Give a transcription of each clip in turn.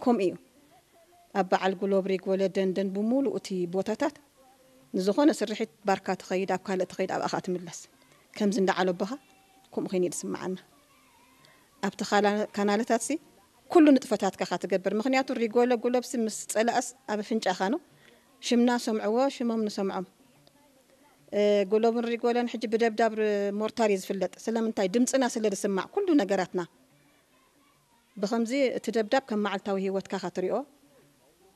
ከምኡ እዩ። ኣብ በዓል ጉሎብሪ፣ ጎለ፣ ደንደን ብምሉእ እቲ ቦታታት ንዝኾነ ስርሒት ባርካ ትኸይድ፣ ኣብ ካልእ ትኸይድ፣ ኣብኣ ኸኣ ትምለስ። ከምዚ እንዳ ዓለቦኻ ከምኡ ኸይኑ እዩ ዝስምዓና። ኣብቲ ካላ-፣ ካናለታትሲ ኩሉ ንጥፈታትካ ኸኣ ትገብር። ምኽንያቱ ሪጎለ ጉሎብሲ ምስ ጸላእስ ኣብ ኣፍንጫኻ ነው። ሽምና ሰምዕዎ፣ ሽሞም ንሰምዖም። እ፣ ጉሎብን ሪጎለን ሕጂ ብደብዳብ ር-፣ ሞርታር እዩ ዝፍለጥ። ስለምንታይ? ድምጽና ስለ ዝስማዕ ኩሉ ነገራትና። ብኸምዚ እቲ ደብዳብ ከም መዓልታዊ ህይወትካ ኸኣ ትሪኦ።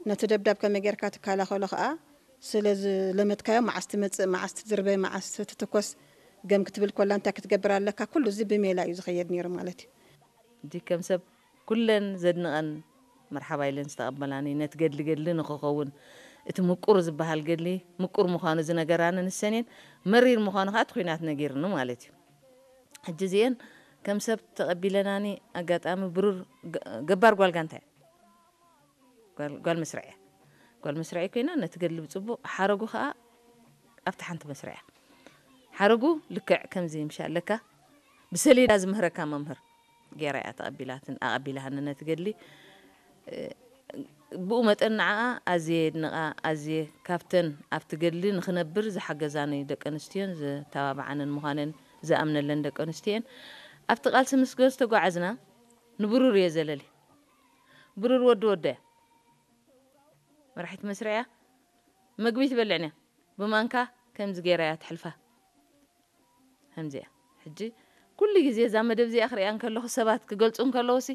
ነቲ ደብዳብ ከመይ ጌርካ ትከላኸሎ ኸኣ ስለ ዝለመድካዮ፣ መዓስ ትመጽእ፣ መዓስ ትድርበ፣ መዓስ ትትኮስ፣ ገም ክትብል ኮላ እንታይ ክትገብር ኣለካ፣ ኩሉ እዚ ብሜላ እዩ ዝኸየድ ነይሩ ማለት እዩ። ሕጂ ከም ሰብ ኩለን ዘድንቐን መርሓባ ኢለን ዝተቐበላኒ፣ ነቲ ገድሊ ገድሊ ንኽኸውን፣ እቲ ምቁር ዝበሃል ገድሊ ምቁር ምዃኑ ዝነገራኒ ንሰን እየን፣ መሪር ምዃኑ ኸኣ እቲ ኲናት ነጊርኒ ማለት እዩ። ሕጂ እዚኤን ከም ሰብ ተቐቢለናኒ፣ ኣጋጣሚ ብሩር ገ-፣ ገባር ጓል ጋንታ እያ። ጓል፣ ጓል መስርዕ እያ። ጓል መስርዕ ኮይና ነቲ ገድሊ ብጽቡቕ፣ ሓረጉ ኸኣ ኣብቲ ሓንቲ መስርዕ እያ። ሓረጉ ልክዕ ከምዚ ምሽ ኣለካ፣ ብሰሌዳ ዝምህረካ መምህር ገይራ እያ ተቐቢላትን-፣ ኣቐቢላሃኒ ነቲ ገድሊ። እ፣ ብኡ መጠን ንዓኣ ኣዝየ የድንቓ፣ ኣዝየ ካብተን ኣብቲ ገድሊ ንኽነብር ዝሓገዛኒ ደቂ ኣንስትዮን ዝተባብዓንን ምዃነን ዝኣምነለን ደቂ ኣንስትዮን። ኣብቲ ቃልሲ ምስ ዝተጓዓዝና ንብሩር እየ ዘለሊ። ብሩር ወዲ ወዶ እያ። መራሒት መስርዕ እያ። መግቢ ትበልዕን እያ። ብማንካ ከምዚ ገይራ እያ ትሕልፋ። ከምዚ እያ። ሕጂ ኩሉ ግዜ እዛ መደብ እዚኣ ክሪኣ እንከለኹ፣ ሰባት ክገልጹ እንከለዉሲ፣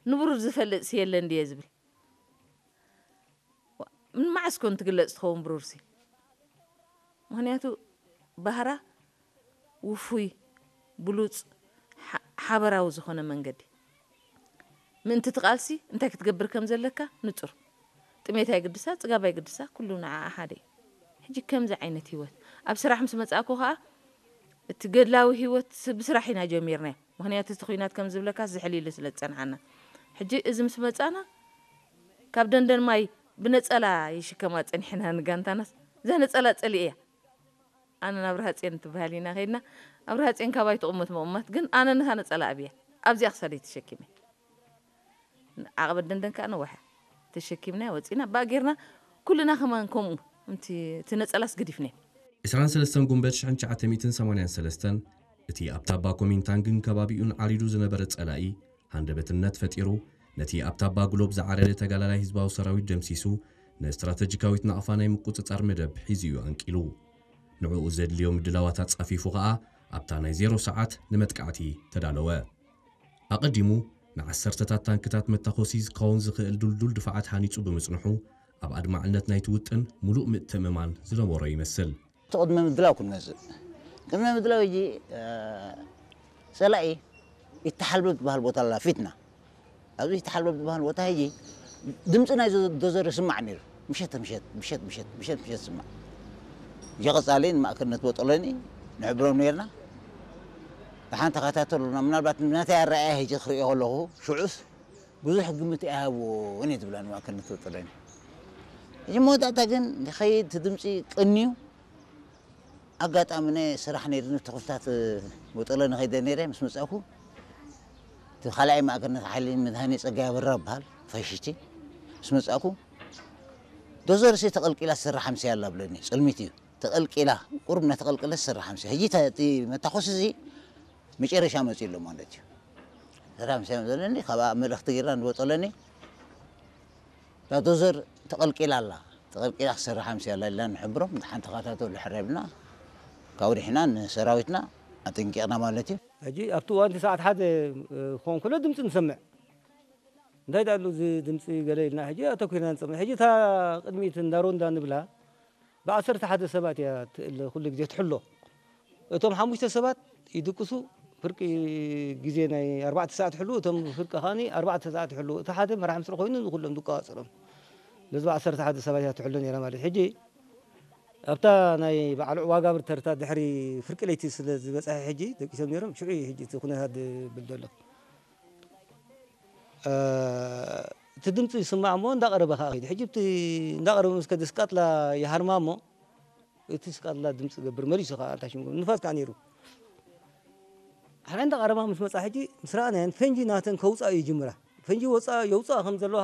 ንብሩር ዝፈልጥሲ የለን ድየ ዝብል። ዋ-፣ ምን መዓስ ኮን ትግለጽ ትኸውን ብሩርሲ? ምኽንያቱ ባህራ ውፉይ፣ ብሉጽ፣ ሓ-፣ ሓበራዊ ዝኾነ መንገዲ። ምእንቲ እቲ ቃልሲ እንታይ ክትገብር ከም ዘለካ ንጹር። ጥሜት ኣይግድሳ፣ ጽጋብ ኣይግድሳ፣ ኩሉ ንዓኣ ሓደ እዩ። ሕጂ ከምዚ ዓይነት ህይወት ኣብ ስራሕ ምስ መጻእኩ ኸኣ፣ እቲ ገድላዊ ህይወት ስ-፣ ብስራሕ ኢና ጀሚርናዮ። ምኽንያቱ እቲ ኲናት ከም ዝብለካ ዝሕል ኢሉ ስለ ዝጸንሓና። ሕጂ እዚ ምስ መጻና፣ ካብ ደንደን ማይ ብነጸላ ይሽከማ ጸኒሕና ንጋንታናስ። እዛ ነጸላ ጸሊኤያ። ኣነ ናብ ኣብርሃ ጽዮን ትበሃል ኢና ከይድና። ኣብርሃ ጽዮን ካባይ ትቕመጥ ምቕማጥ፣ ግን ኣነ ነታ ነጸላ ኣብያ ኣብዚኣ ክሳደይ ተሸኪመ። ዓቐበት ደንደን ከኣ ነዋሕ እያ። ተሸኪምና ወጺና፣ ባእ ጌርና ኩልና ከማን ከምኡ። እምቲ፣ እቲ ነጸላስ ገዲፍናዮ። ዕስራን ሰለስተን ጉንበት ሽሕን ትሽዓተ ሚእትን ሰማንያን ሰለስተን፣ እቲ ኣብ ታባ ኮሚንታንግን ከባቢኡን ዓሪዱ ዝነበረ ጸላኢ ሃንደበትነት ፈጢሩ፣ ነቲ ኣብ ታባ ግሎብ ዝዓረደ ተጋላላይ ህዝባዊ ሰራዊት ደምሲሱ፣ ንስትራተጂካዊት ናቕፋ ናይ ምቁጽጻር መደብ ሒዙ እዩ ኣንቂሉ። ንዕኡ ዘድልዮ ምድላዋት ኣጻፊፉ ኸኣ፣ ኣብታ ናይ ዜሮ ሰዓት ንመጥቃዕቲ ተዳለወ። ኣቐዲሙ፣ ንዓሰርተታት ታንክታት መታኾሲ ዝኸውን ዝኽእል ድልዱል ድፋዓት ሃኒጹ ብምጽንሑ፣ ኣብ ኣድማዕነት ናይቲ ውጥን ምሉእ ምትእምማን ዝነበሮ ይመስል። እቲ ቅድመ ምድላው ክንመጽእ። ቅድመ ምድላው ሕጂ፣ እ፣ ጸላኢ ይተሓልበብ ዝበሃል ቦታ ኣላ ፊትና። ኣብዚ ይተሓልበብ ዝበሃል ቦታ ሕጂ ድምጺ ናይ ዶ-፣ ዶዘር ይስማዕ ነይሩ። ምሸት፣ ምሸት፣ ምሸት፣ ምሸት፣ ምሸት፣ ምሸት ይስማዕ። ሕጂ ቀጻሊ ንማእከልነት ቦጦሎኒ ንሕብሮም ነይርና። ደሓን ተኸታተሉና። ምናልባት ነቲ ኣረኣእያ ሕጂ ክርእዮ ከለኹ፣ ሽዑስ ብዙሕ ግምት ኣይሃብዎን እየ ዝብላ ንማእከልነት ቦጦሎኒ። ሕጂ መወዳእታ ግን ንኸይድ እቲ ድምጺ ቀንዩ። ኣጋጣሚ ናይ ስራሕ ነይሩኒ፣ እቲ ክፍልታት ቦጦሎኒ ከይደ ነይረ። ምስ መጻእኩ፣ እቲ ካልኣይ ማእከልነት ሓይሊ መድሃኔ ጸጋይ ኣበራ ይበሃል፣ ፋሽስቲ። ምስ መጻእኩ፣ ዶዘርሲ ተቐልቂላ ትሰርሕ ኣምስያ ኣላ ብለኒ። ጽልሚት እዩ። ተቐልቂላ፣ ቁሩብ እናተቐልቀለት ትሰርሕ ኣምስያ። ሕጂ እታ፣ እቲ መታኮሲ እዚ መጨረሻ መጺኡ ኣሎ ማለት እዩ። ትሰርሕ ኣምስያ ዘለኒ፣ ካብኣ መልእኽቲ ጌርና ንቦጦሎኒ። እታ ዶዘር ተቐልቂላ ኣላ። ተቐልቂላ ክትሰርሕ ኣምስያ ኣላ ኢልና ንሕብሮም፣ ደሓን ተኸታተሉ ሕራይ ኢልና፣ ካብኡ ርሒና ንሰራዊትና ኣጠንቂቕና ማለት እዩ። ሕጂ ኣብቲ እዋን እቲ ሰዓት ሓደ፣ እ፣ ክኸውን ከሎ ድምፂ ንሰምዕ። እንታይ ደኣ ኣሎ እዚ ድምፂ ገለ ኢልና ሕጂ ኣተኲርና ንሰምዕ። ሕጂ እታ ቅድሚት እንዳ ሮንዳ ንብላ ብዓሰርተ ሓደ ሰባት እያ ትእል ኩሉ ግዜ ትሕሎ። እቶም ሓሙሽተ ሰባት ይድቅሱ፣ ፍርቂ ግዜ ናይ ኣርባዕተ ሰዓት ይሕሉ፣ እቶም ፍርቂ ከኣኒ ኣርባዕተ ሰዓት ይሕሉ። እቲ ሓደ መራሕ ምስሪ ኮይኑ ንኹሎም ዝቆጻጸሮም። ነዚ ብዓሰርተ ሓደ ሰባት እያ ትሕሎ ነይራ ማለት እዩ። ሕጂ ኣብታ ናይ በዓል ዑባጋብር ተርታ ድሕሪ ፍርቂ ለይቲ ስለ ዝበጽሐ ሕጂ ደቂሶም ነይሮም፣ ሽዑ እዩ ሕጂ እቲ ኩነታት ዝብል ዘሎ። እ፣ እቲ ድምፂ ይስማዕ እሞ እንዳቐረበ ከዓ ከይዱ። ሕጂ እቲ እንዳቐረበ ምስ ከደ ስቃጥላ ይሃርማ እሞ እቲ ስቃጥላ ድምፂ ገብር መሊሱ ከዓ ኣልታሽም ገብር ንፋስ ከዓ ነይሩ። ሓና እንዳቐረባ ምስ መፃ ሕጂ ምስ ረኣናየን ፈንጂ ናተን ከውፃ ይጅምራ። ፈንጂ ወፃ የውፃ ከም ዘለዋ